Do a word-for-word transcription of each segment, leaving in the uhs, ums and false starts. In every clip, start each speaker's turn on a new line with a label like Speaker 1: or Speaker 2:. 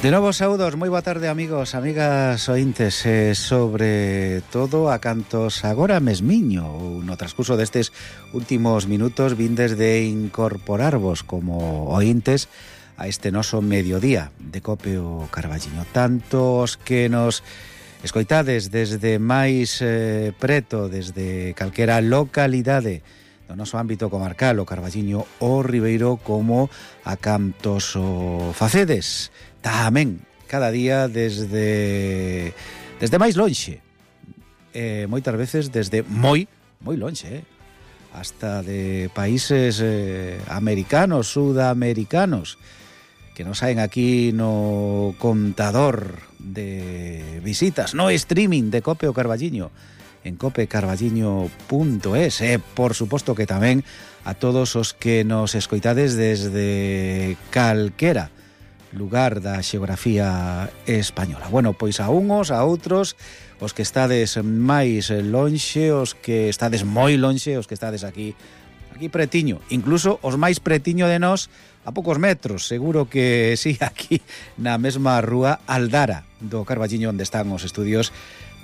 Speaker 1: De novo saúdos, moi boa tarde amigos, amigas ointes, eh, sobre todo a cantos agora mesmiño ou no transcurso destes últimos minutos vindes de incorporarvos como ointes a este noso mediodía de Cope o Carballiño. Tantos que nos escoitades desde máis eh, preto, desde calquera localidade do noso ámbito comarcal, o Carballiño, o Ribeiro, como a cantos o facedes tamén cada día desde desde máis lonxe, eh, moitas veces desde moi moi lonxe, eh, hasta de países eh, americanos, sudamericanos, que nos saen aquí no contador de visitas, no streaming de Cope o Carballiño en cope carballiño punto es, e por suposto que tamén a todos os que nos escoitades desde calquera lugar da xeografía española. Bueno, pois a uns, a outros, os que estades máis lonxe, os que estades moi lonxe, os que estades aquí aquí pretiño, incluso os máis pretiño de nós a poucos metros, seguro que sí, aquí na mesma rúa Aldara do Carballiño, onde están os estudios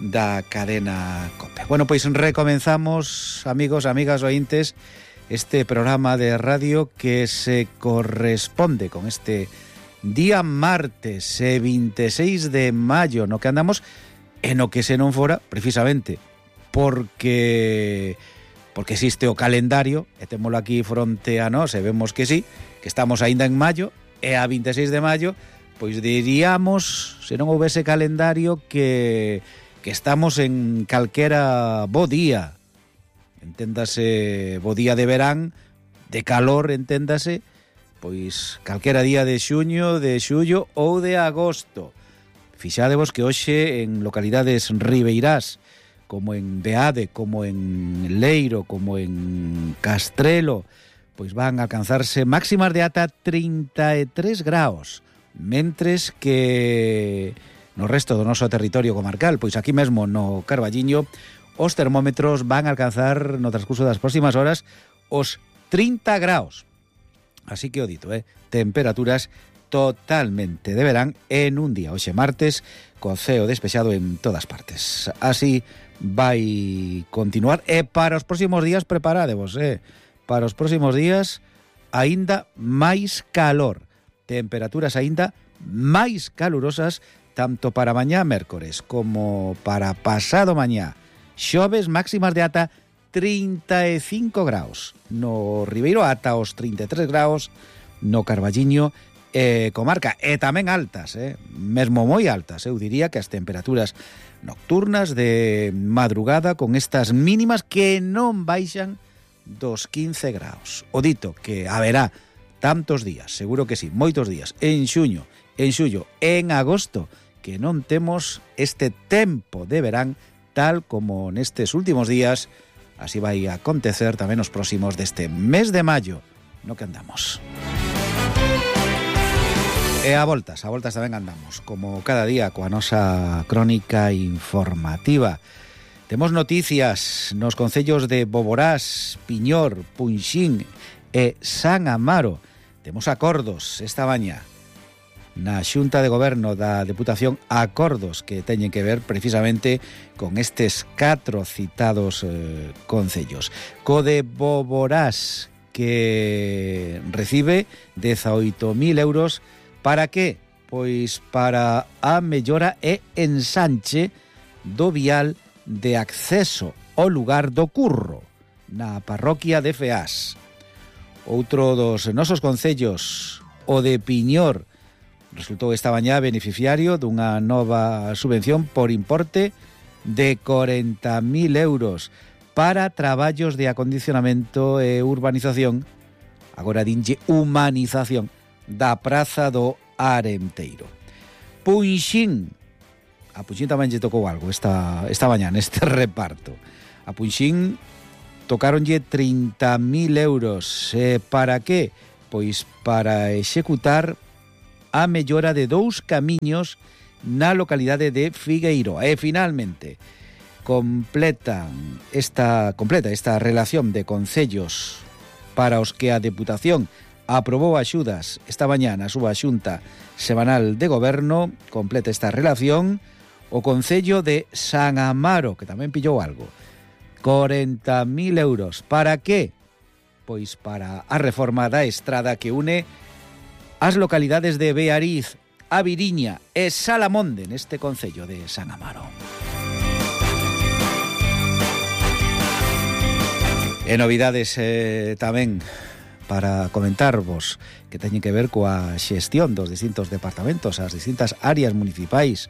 Speaker 1: da cadena Cope. Bueno, pois recomenzamos, amigos, amigas ointes, este programa de radio que se corresponde con este día martes e vinte e seis de maio, no que andamos en o que se non fora, precisamente porque porque existe o calendario, e témolo aquí fronte a nós, e vemos que sí, que estamos aínda en maio, e a vinte e seis de maio, pois diríamos, se non houvese calendario, que, que estamos en calquera bo día, enténdase, bo día de verán, de calor, enténdase, pois calquera día de xuño, de xullo ou de agosto. Fixadevos que hoxe en localidades ribeirás, como en Beade, como en Leiro, como en Castrelo, pois van a alcanzarse máximas de ata trinta e tres graus, mentres que no resto do noso territorio comarcal, pois aquí mesmo no Carballiño, os termómetros van a alcanzar no transcurso das próximas horas os trinta graus. Así que o dito, eh, temperaturas totalmente de verán en un día, hoxe martes, con ceo despexado en todas partes. Así vai continuar, e para os próximos días preparadevos, eh, para os próximos días aínda máis calor, temperaturas aínda máis calurosas, tanto para mañá mércores como para pasado mañá xoves, máximas de ata trinta e cinco graus no Ribeiro, ata os trinta e tres graus no Carballiño e comarca, e tamén altas, eh? mesmo moi altas, eu diría que as temperaturas nocturnas de madrugada con estas mínimas que non baixan dos quince graus. O dito que haberá tantos días, seguro que sí, moitos días, en xuño, en xullo, en agosto, que non temos este tempo de verán tal como nestes últimos días. Así vai a acontecer tamén os próximos deste mes de maio, no que andamos. E a voltas, a voltas tamén andamos, como cada día, coa nosa crónica informativa. Temos noticias nos concellos de Boborás, Piñor, Punxín e San Amaro. Temos acordos esta mañá na Xunta de Goberno da Deputación, acordos que teñen que ver precisamente con estes catro citados eh, concellos. Co de Boborás, que recibe dezaoito mil euros, para que? Pois para a mellora e ensanche do vial de acceso ao lugar do Curro, na parroquia de Feás. Outro dos nosos concellos, o de Piñor, resultou esta mañá beneficiario dunha nova subvención por importe de corenta mil euros para traballos de acondicionamento e urbanización, agora dinlle humanización, da Praza do Arenteiro. Punxín, a Punxín tamén lle tocou algo esta, esta mañá neste reparto. A Punxín tocáronlle trinta mil euros. E para que? Pois para executar a mellora de dous camiños na localidade de Figueiro. E finalmente completan esta completa esta relación de concellos para os que a Deputación aprobou axudas esta mañá na súa xunta semanal de goberno. Completa esta relación o Concello de San Amaro, que tamén pillou algo. corenta mil euros. Para que? Pois para a reforma da estrada que une as localidades de Beariz, A Viriña e Salamonde neste Concello de San Amaro. E novidades eh, tamén para comentarvos que teñen que ver coa xestión dos distintos departamentos, as distintas áreas municipais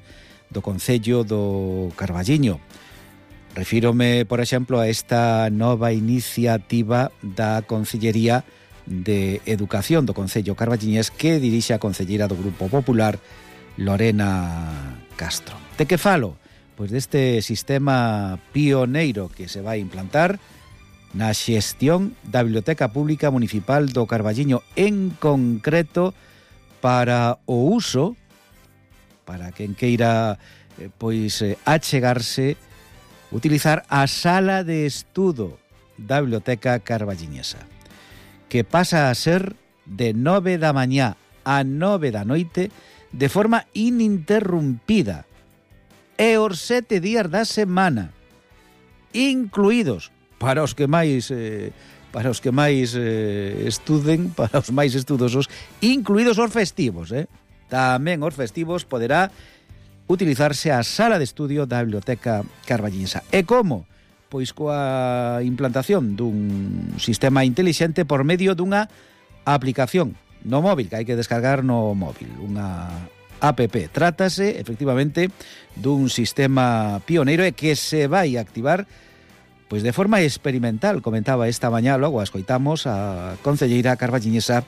Speaker 1: do Concello do Carballiño. Refírome, por exemplo, a esta nova iniciativa da Consellería de Educación do Concello carballiñés que dirixe a concelleira do Grupo Popular, Lorena Castro. De que falo? Pois deste sistema pioneiro que se vai implantar na xestión da Biblioteca Pública Municipal do Carballiño, en concreto para o uso, para quen queira eh, pois eh, achegarse, utilizar a sala de estudo da Biblioteca Carballiñesa, que pasa a ser de nove da mañá a nove da noite de forma ininterrumpida e os sete días da semana, incluídos para os que máis eh, para os que máis eh, estuden, para os máis estudosos, incluídos os festivos, eh? Tamén os festivos poderá utilizarse a sala de estudio da Biblioteca Carballiñesa. E como? Pois coa implantación dun sistema intelixente por medio dunha aplicación no móvil, que hai que descargar no móvil, unha app. Trátase, efectivamente, dun sistema pioneiro e que se vai activar pois de forma experimental, comentaba esta mañá, logo a escoitamos a concelleira carballiñesa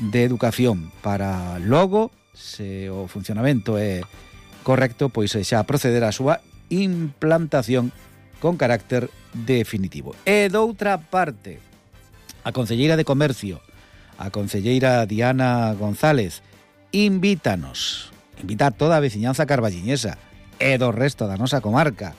Speaker 1: de Educación, para logo, se o funcionamento é correcto, pois xa proceder a súa implantación con carácter definitivo. E doutra parte, a concelleira de Comercio, a concelleira Diana González, invítanos, invita a toda a veciñanza carballiñesa e do resto da nosa comarca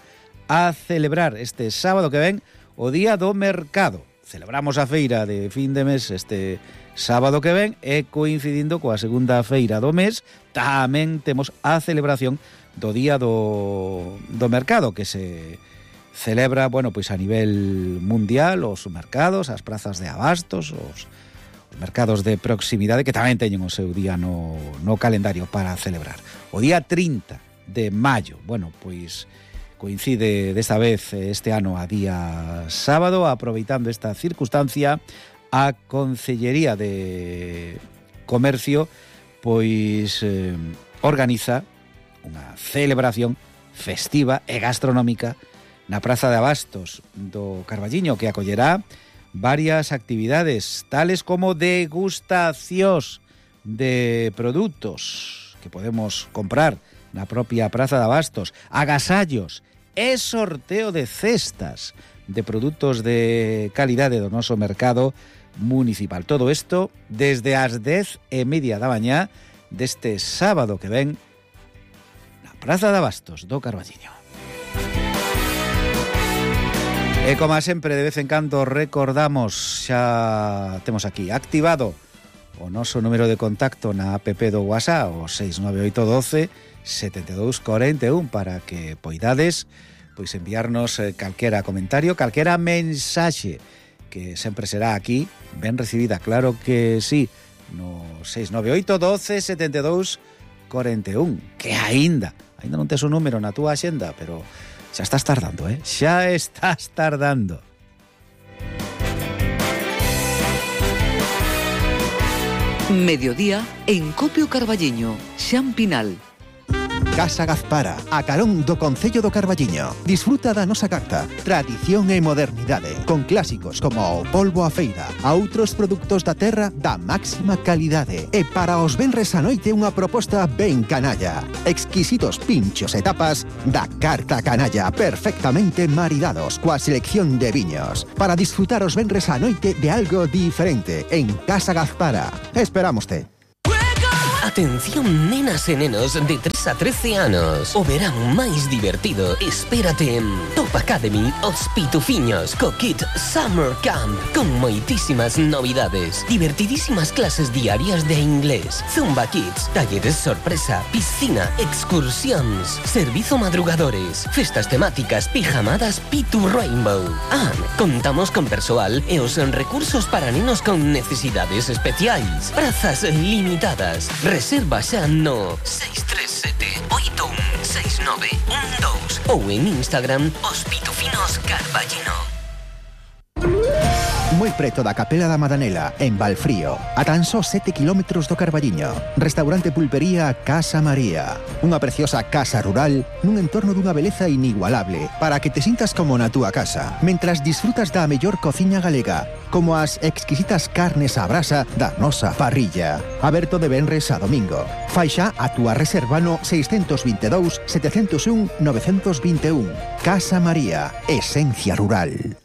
Speaker 1: a celebrar este sábado que ven o Día do Mercado. Celebramos a feira de fin de mes este sábado que ven e coincidindo coa segunda feira do mes tamén temos a celebración do Día do, do Mercado, que se celebra, bueno, pois a nivel mundial, os mercados, as prazas de abastos, os, os mercados de proximidade, que tamén teñen o seu día no, no calendario para celebrar. O día trinta de maio, bueno, pois coincide desta vez este ano a día sábado, aproveitando esta circunstancia, a Concellería de Comercio pois eh, organiza unha celebración festiva e gastronómica na Praza de Abastos do Carballiño, que acollerá varias actividades, tales como degustacións de produtos que podemos comprar na propia Praza de Abastos, agasallos e sorteo de cestas de produtos de calidade do noso mercado municipal. Todo isto desde as dez e media da mañá deste sábado que ven na Praza de Abastos do Carballiño. E como sempre, de vez en cando recordamos, xa temos aquí activado o noso número de contacto na app do WhatsApp, o seis nove oito un dos setenta e dous cuarenta e un, para que poidades pois enviarnos eh, calquera comentario, calquera mensaxe, que sempre será aquí ben recibida, claro que sí, no seis nove oito un dos setenta e dous cuarenta e un, que aínda, aínda non tes o número na túa axenda, pero xa estás tardando, eh? Xa estás tardando.
Speaker 2: Mediodía en Copio Carballiño, Xan Pinal.
Speaker 3: Casa Gazpara, a carón do Concello do Carballiño. Disfruta da nosa carta, tradición e modernidade, con clásicos como o polvo a feira, a outros produtos da terra da máxima calidade. E para os venres a noite unha proposta ben canalla. Exquisitos pinchos e tapas da carta canalla, perfectamente maridados coa selección de viños. Para disfrutar os venres a noite de algo diferente en Casa Gazpara. Esperámoste.
Speaker 4: Atención nenas e nenos de tres a trece anos. O verán máis divertido espérate en Top Academy Os Pitufiños co Kit Summer Camp, con moitísimas novidades, divertidísimas clases diarias de inglés, Zumba Kids, talleres sorpresa, piscina, excursións, servizo madrugadores, festas temáticas, pijamadas Pitu Rainbow. Ah, contamos con persoal e os recursos para nenos con necesidades especiais. Prazas limitadas. Reserva xa no seis tres sete oito un seis nove un dos ou en Instagram Os Pitufinos Carballino.
Speaker 3: Moi preto da Capela da Madanela, en Valfrío, a tan só sete kilómetros do Carballiño. Restaurante Pulpería Casa María. Unha preciosa casa rural nun entorno dunha beleza inigualable para que te sintas como na túa casa, mentras disfrutas da mellor cociña galega, como as exquisitas carnes á brasa da nosa parrilla. Aberto de venres a domingo. Fai xa a túa reserva no seis dos dous, sete zero un, nove dos un. Casa María, esencia rural.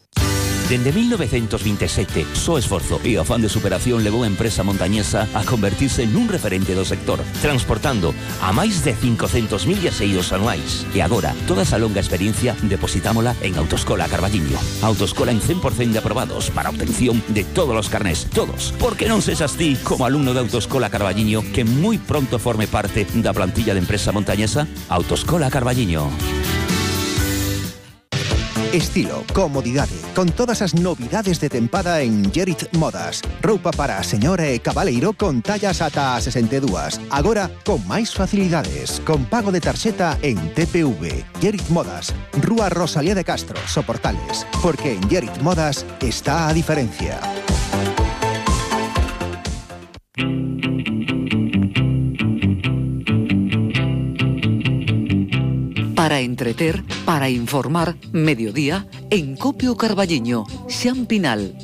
Speaker 5: Dende mil novecientos veintisiete, só esforzo e afán de superación levou a empresa montañesa a convertirse nun referente do sector, transportando a máis de cincocentos mil viaxeiros anuais. E agora, toda esa longa experiencia depositámola en Autoescola Carballiño. Autoescola en cen por cento de aprobados para obtención de todos os carnés, todos. Porque non sexas ti, como alumno de Autoescola Carballiño, que moi pronto forme parte da plantilla de empresa montañesa? Autoescola Carballiño.
Speaker 3: Estilo, comodidade, con todas as novidades de tempada en Gerit Modas. Roupa para a señora e cabaleiro con tallas ata a sesenta e dúas. Agora, con máis facilidades, con pago de tarxeta en T P V. Gerit Modas, Rúa Rosalía de Castro, Soportales. Porque en Gerit Modas está a diferencia.
Speaker 2: Para entreter, para informar, mediodía, en Copio Carballiño, Xampinal.